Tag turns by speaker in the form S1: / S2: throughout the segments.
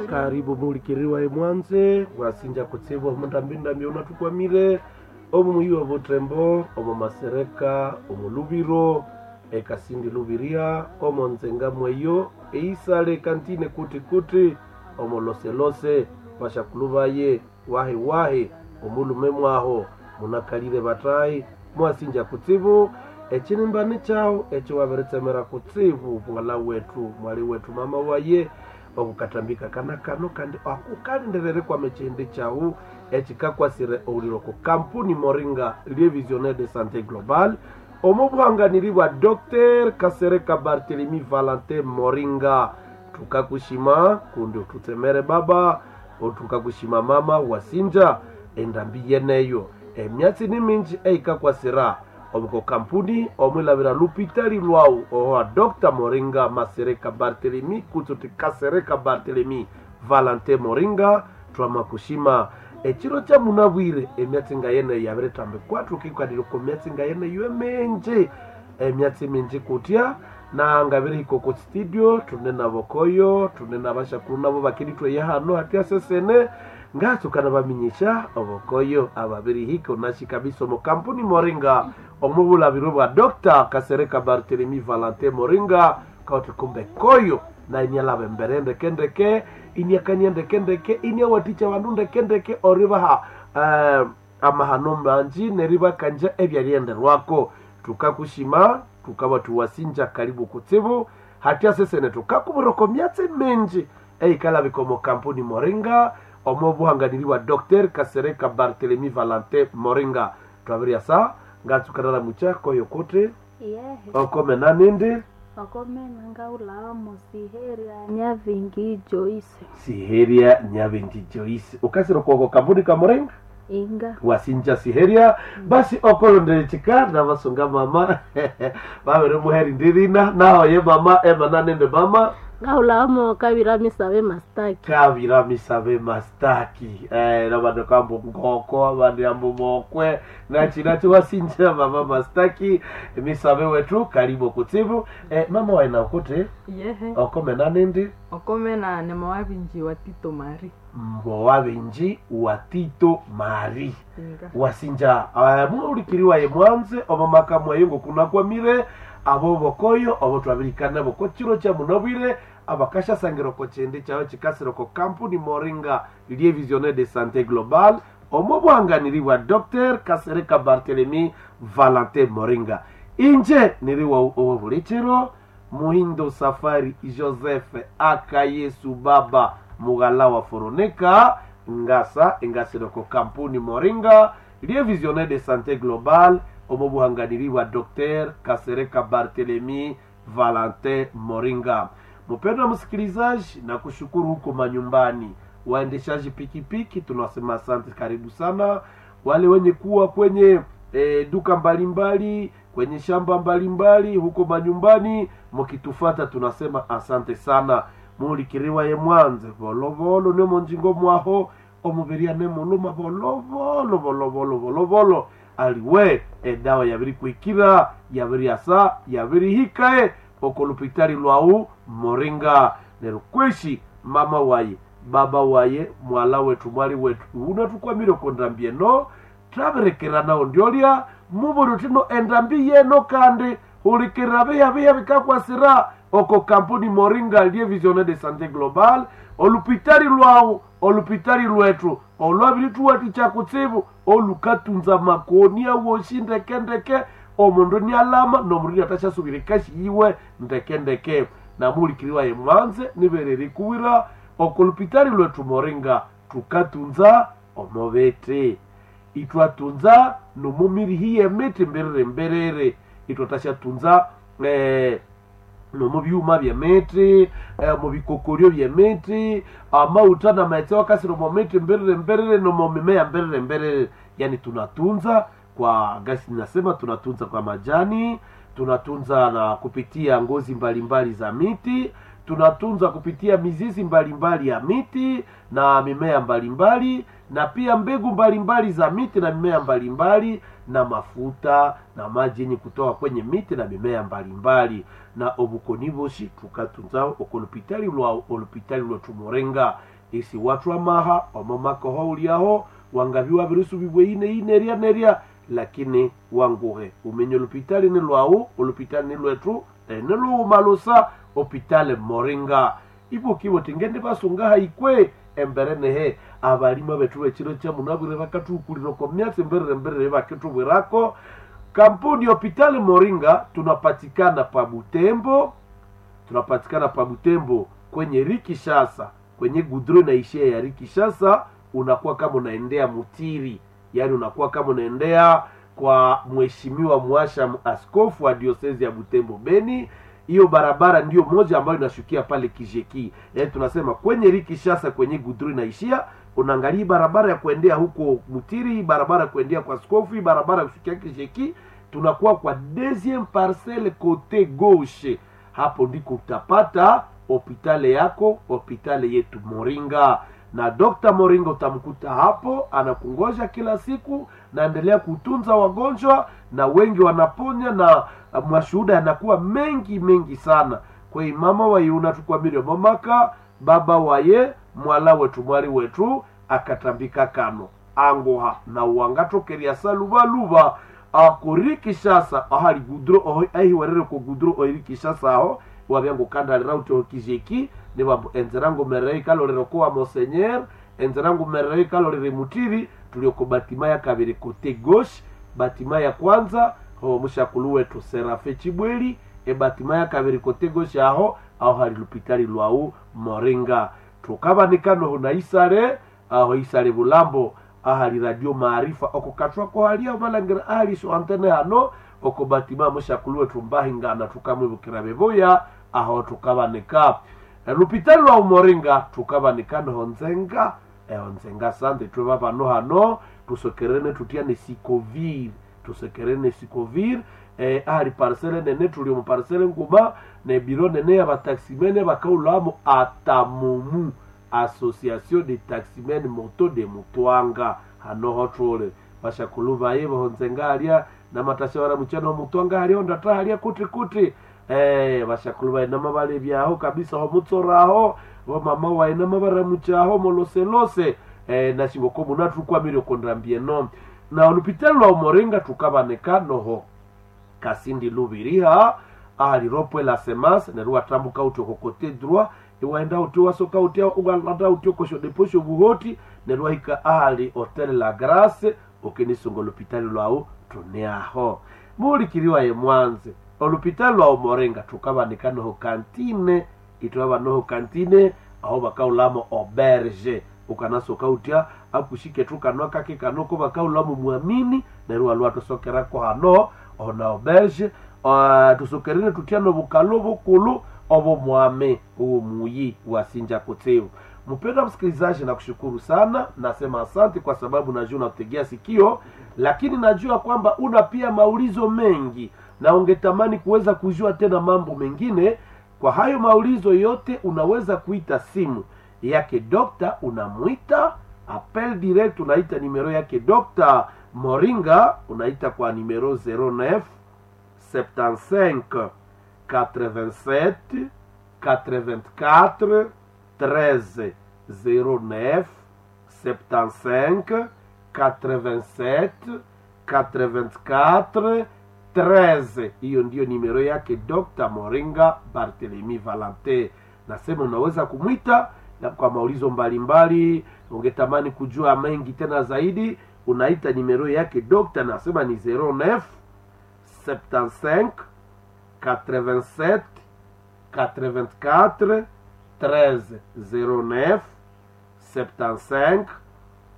S1: Karibu mulikiriwa emwanze wasinja kutsibwa omundambindambi unatukwamire omu muyi wa Butembo, omu Masereka, omu Lubiro, ekasindi Lubiria, omu Nzenga mweyo, eisale kantine kuti kuti, omu Loselose, bashakulu baye, wahi wahi, omulume mwaho, munakalire batayi, mwasinja kutsibu, ekinimbani kyawu ekyo wabiritsemera kutsibu mwala wetu, mwali wetu, mama waye, okukatambika kana kano kandi akukalindirire kwama ekihindi kyawu ekikakwasire owuliro ku kampuni Moringa lie Visionnaire de Santé Global omu buhanganiri bwa Dr. Kasereka Barthelemy Valentin Moringa. Tukakushima kundi ututsemere baba, otukakushima mama wasinja endambi yeneyo emyatsi ni minji eikakwasira omuko kampuni omwilabira lupitali lwawu owa Dr. Moringa Masereka Barthelemy kutsuti Kasereka Barthelemy Valentin Moringa. Twamakushima ekiro kya munabwire emyatsi nga yeneyo yabiritambikwa tukikwanire ku myatsi nga yeneyo eminji emyatsi minji kutya na ngabirihika oko studio tune nabokoyo tune nabashakuru nabo bakirithweya hano hatya sesene ngatsukana baminyisha obokoyo ababirihika onashi kabisa omu kampuni Moringa omubulabiro bwa Dr. Kasereka Barthelemy Valentin Moringa kauti kumbe koyo na inyalaba embere ndekendeke inyakania ndekendeke inyawaticha bandu ndekendeke oribaha amahano manji neribakanja ebyalyenderwako. Tukakushima tukaba tuwasinja karibu kutsibu hatya sesene tukakuburoko myatsi minji eikalabika omu kampuni Moringa omu buhanganiri bwa Dr. Kasereka Barthelemy Valentin Moringa. Twabiryasa ngatsukanala mucha koyo kuti
S2: Yehe,
S1: okomena nindi
S2: okomena ngaulamo siheria nyavingi Joyce
S1: Siheria Nyavingi Joyce ukasira kwoko kampuni ka Moringa
S2: inga
S1: wasinja siheria basi okolondelechika navasunga mama vavere muheri ndirina nahoye mama emana nende mama
S2: ngaulamo kavira misabe mastaki
S1: kavira misabe mastaki navandu kambo ngoko avandu ambo mokwe nachinachi wasinja mama mastaki misabe wetu karibu kutsibu mama waina kuti
S3: Yehe,
S1: okomena nindi
S3: okomena ne mowabinji wa Tito Mari.
S1: mbowabenji wa Tito Mari
S3: Inga.
S1: wasinja muulikiriwa ye mwanze omamaka mweyo ngokunakwamire abo bokoyo obo twabirikana boko chiro kya munabwire abakashasangira oko chindi kyawe chikasira oko kampuni Moringa lie Visionnaire de Santé Global omo bwanganiri bwa Dr. Kasereka Barthelemy Valentin Moringa. Inje niriwa owo buli chiro Muhindo Safari Joseph aka Yesu Baba mughala wa Foroneka ngasa engasiroko kampuni Moringa lie Visionnaire de Santé Global omo buhanganiri bwa Dr. Kasereka Barthelemy Valentin Moringa. Mpendwa msikilizaji, na kushukuru huko manyumbani, waendeshaji pikipiki tunasema asante, karibu sana. Wale wenye kuwa kwenye duka mbalimbali, kwenye shamba mbalimbali, huko manyumbani mukitufata, tunasema asante sana. Mulikiriwa ye mwanze volovolo nemo njingo mwaho omubiria nemuluma volovolo volovolo volovolo aliwe edawa yabiri kwikira yabiri asa yabiri hikae okolupitali lwawu Moringa. Nerukweshi mama waye baba waye mwala wetu mwali wetu unatukwamire kondambie no twabirekera nawo ndyolya muburi tino endambi yeno kandi hulikira biya biya bikakwasira oko kampuni Moringa lie Visionnaire de Santé Global olupitali lwawu olupitali lwetu olwabirituwaticha kutsibu olukatunza makoni awoshi ndekendeke omundu nialama nomundu niatashasubira ekashi yiwe ndekendeke namulikiriwa ye mwanze niberere kuwira okolupitali lwetu Moringa tukatunza omobete itwatunza nomumirihi yemiti mbirire mbirire itwatashatunza nomubyuma byemiti mubikokoryo byemiti amauta na maetse wakasira mumiti mbirire mbirire nomumimea mbirire mbirire. Yani tunatunza kwa gasi, nasema tunatunza kwa majani, tunatunza na kupitia ngozi mbalimbali za miti, tunatunza kupitia mizizi mbalimbali ya miti na mimea mbalimbali. na pia mbegu mbalimbali za miti na mimea mbalimbali na mafuta na maji yenye kutoka kwenye miti na mimea mbalimbali. Na obukoni boshi tukatunzao okolopitali lwa olopitali lwa tumurenga isi watu amaha omomakoho uliaho wangaviwa virusu vibwe ine ine nerya lakini wanguhe umenye olopitali ni lwau, olopitali ni lwetu, niluumalusa opitale Moringa. Ibukibo tingende basungaha ikwe embere nehe abalima bethu bekiro kya munabwire bakathuhukulira oko myatsi mberere mberere bakithubwirako. Kampuni Hopitali Moringa tunapatikana pa Butembo, tunapatikana pa Butembo kwenye Rikishasa, kwenye gudro inaishia ya Rikishasa, unakuwa kama unaendea Mutiri, yaani unakuwa kama unaendea kwa mheshimiwa Mwasha, askofu wa diosezi ya Butembo Beni. Hiyo barabara ndiyo moja ambayo inashukia pale Kijeki, yaani tunasema kwenye Rikishasa, kwenye gudro inaishia, unaangalia barabara ya kuendea huko Mutiri, barabara ya kuendea kwa askofu, barabara ya kushukia Kijeki, tunakuwa kwa deuxième parcelle côté gauche. Hapo ndiko utapata hopitale yako, hopitale yetu Moringa. Na Dr. Moringa utamkuta hapo, anakungoja kila siku, naendelea kutunza wagonjwa na wengi wanaponya, na mashuhuda yanakuwa mengi mengi sana. Kwa hiyo mama wayuna tukwamire mamaka baba waye mwala wetu mwali wetu akatambika kano angoha na uwangatokeria saluvaluva akori Kishasa ahali gudro ahiwerere ko gudro oiri Kishasa aho wabyango kandalira uti okijeki nibambo enzerango merei kalolero ko wa monseigneur, enzerango merei kalolere mutiri tulioko batima ya kabiri kote gauche, batima ya kwanza ho mushakulu wetu Serafe Chibweli, e batima ya kabiri kote gauche aho aho hali lupitali lwau Moringa. Tukabanikano huna isare aho isare bulambo ahali radio Maarifa oko katwako halia malangira ahali so antene hano oko batima mushakulu wetu mbahingana tukamwibukira beboya aho tukabanika lupitali lwa Umoringa tukabanika noho nzenga eho nzenga sande tweba bano hano tusokerene tutia ne sikovir, tusokerene sikovir ahali parcele nene tuli mu parcele nguma ne biro nene ya bataximene bakaulamo atamumu association de taximen moto de Mutwanga hanoho tule bashakulu baye bohonzenga alia na matasha bara muchano Mutwanga alia ndata alia kuti kuti bashakulu baye namabale byaho kabisa ho mutsoraho bo mama waye namabara muchaho moloselose na shingoko munatukwamire kondrambie no na olupitalo lwa Umoringa tukabaneka noho Kasindi Lubiriha ahali ropwe la semence neru atambuka uti oko kote droit iwaenda uti wasoka uti ugalanda uti okosho deposho buhoti neru ahika ahali hotel la Grace okenisunga olupitali lwau tuneaho mulikiriwa ye mwanze olupitali lwa Umoringa tukabanika noho kantine itwaba noho kantine aho bakaulamo auberge ukanasoka utya akushike tukanwa kake kanoko bakaulamo mwamini neru alwa tusokerako hano ona auberge tusokerene tutya nobukalo bukulu obo mwame uwo muyi wasinja kutsibu. Mpendwa msikilizaji, nakushukuru sana, nasema asante kwa sababu najua unategea sikio, lakini najua kwamba una pia maulizo mengi na ungetamani kuweza kujua tena mambo mengine. Kwa hayo maulizo yote unaweza kuita simu yake dokta, unamwita appel direct, unaita nimero yake Dokta Moringa, unaita kwa nimero 09 75 87 84 13 09 75 87 84 13. Hiyo ndiyo nimero yake Dr. Moringa Barthelemy Valente. Nasema unaweza kumwita na kwa maulizo mbalimbali, ungetamani kujua mengi tena zaidi, unaita nimero yake Dr. Nasema ni 09 75 87 84 13 09 75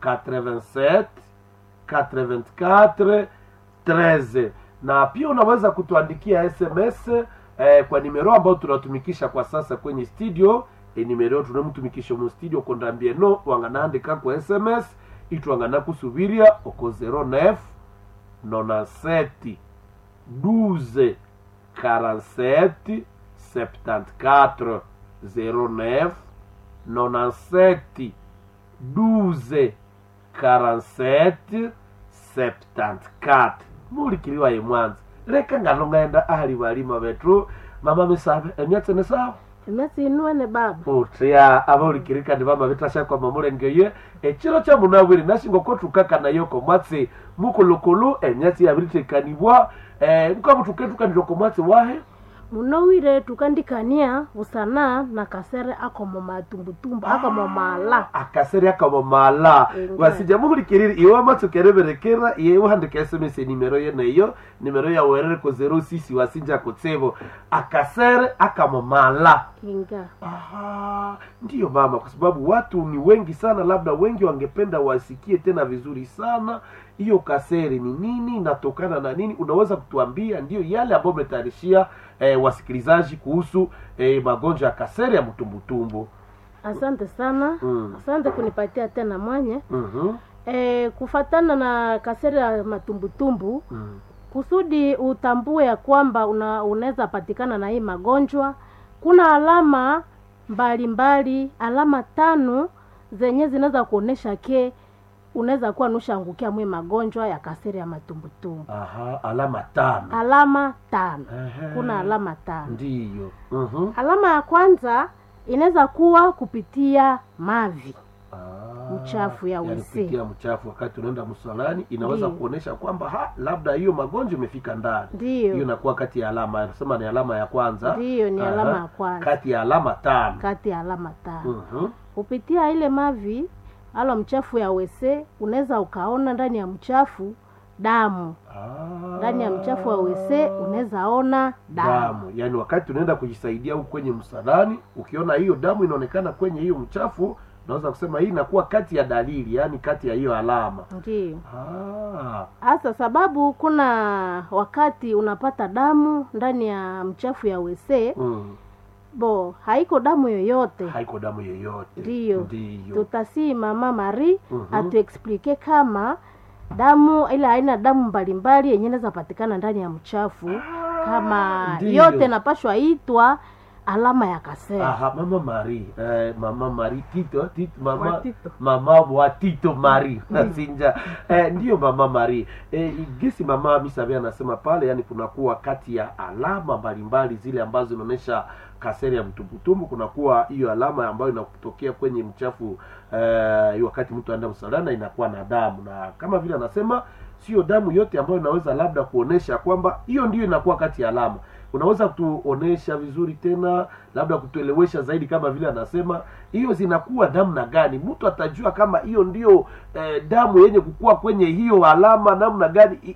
S1: 87 84 13. Na pia unaweza kutuandikia SMS kwa nimero ambayo tunatumikisha kwa sasa kwenye studio. Nimero tunamtumikisha mu studio kondambie no wanganaandika kwa SMS itwangana kusubiria oko 09 97 12 47 74 09 97 12 47 74. Mulikiriwa ye mwanza leka ngalo ngaenda ahali balima betu. Mama misabe emyatsi ni sawa?
S2: Emyatsi inuene baba.
S1: Utya abaulikirikani bamabitasha kwa mamulengeye ekiro kya munabwiri nashingo tukakanayoko mwatsi mukulukulu emyatsi yabiritekanibwa nkabutuketukanire ko mwatsi wahe.
S2: Munowire tukandikania busana na kasere akomo matumbutumbu akomo mala.
S1: Akasere akomo mala.
S2: Inga.
S1: Wasija muhulikiriri iwe amatsukereberekera iye uhandika SMS nimero yeneyo nimero yawerere ko 06 wasinja kutsebo akasere akamo mala.
S2: Inga.
S1: Aha, ndiyo mama, kwa sababu watu ni wengi sana, labda wengi wangependa wasikie tena vizuri sana hiyo kaseri ni nini, inatokana na nini. Unaweza kutuambia ndiyo yale ambayo umetayarishia wasikilizaji kuhusu magonjwa ya kaseri ya mtumbutumbu?
S2: Asante sana. Asante kunipatia tena mwanye. Kufatana na kaseri ya matumbutumbu, kusudi utambue ya kwamba unaweza patikana na hii magonjwa, kuna alama mbalimbali mbali, alama 5 zenye zinaweza kuonesha ke unaweza kuwa nushaangukia mwe magonjwa ya kaseri ya matumbutumbu.
S1: Aha, alama 5.
S2: Alama 5.
S1: Ehe.
S2: Kuna alama 5.
S1: Ndiyo.
S2: Alama ya kwanza inaweza kuwa kupitia mavi. Mchafu ya
S1: Yani
S2: wese.
S1: kupitia mchafu wakati unaenda msalani inaweza
S2: Ndiyo.
S1: kuonesha kwamba labda hiyo magonjwa imefika ndani.
S2: Ndiyo.
S1: Hiyo inakuwa kati ya alama, nasema ni alama ya kwanza.
S2: Ndiyo, ni alama ya kwanza.
S1: Kati ya alama 5.
S2: Kati ya alama 5. Kupitia ile mavi alo mchafu ya wese unaweza ukaona ndani ya mchafu damu. Ndani ya mchafu wa wese unaweza ona damu.
S1: Damu. Yaani wakati unaenda kujisaidia huko kwenye msalani, ukiona hiyo damu inaonekana kwenye hiyo mchafu, unaweza kusema hii inakuwa kati ya dalili, yaani kati ya hiyo alama.
S2: Ndiyo. Hasa sababu kuna wakati unapata damu ndani ya mchafu ya wese. Bo, haiko damu yoyote.
S1: Haiko damu yoyote.
S2: Ndiyo.
S1: Ndiyo.
S2: Tutasii mama Marie atuexplike kama damu ile aina damu mbalimbali yenye inaweza patikana ndani ya mchafu, kama
S1: Ndiyo.
S2: yote napashwa itwa alama ya kasere.
S1: Aha, mama Marie, mama Marie Tito, Tito mama
S3: Wa Tito.
S1: mama wa Tito Marie Sinja. Ndiyo mama Marie. Gisi mama Misabe anasema pale, yani kunakuwa kati ya alama mbalimbali zile ambazo zinaonyesha kaseri ya mtumbutumbu, kunakuwa hiyo alama ambayo inatokea kwenye mchafu wakati mtu anaenda msalani inakuwa na damu, na kama vile anasema sio damu yote ambayo inaweza labda kuonesha kwamba hiyo ndiyo inakuwa kati ya alama. Unaweza kutuonesha vizuri tena, labda kutuelewesha zaidi, kama vile anasema hiyo zinakuwa namna gani? Mtu atajua kama hiyo ndiyo damu yenye kukua kwenye hiyo alama namna gani?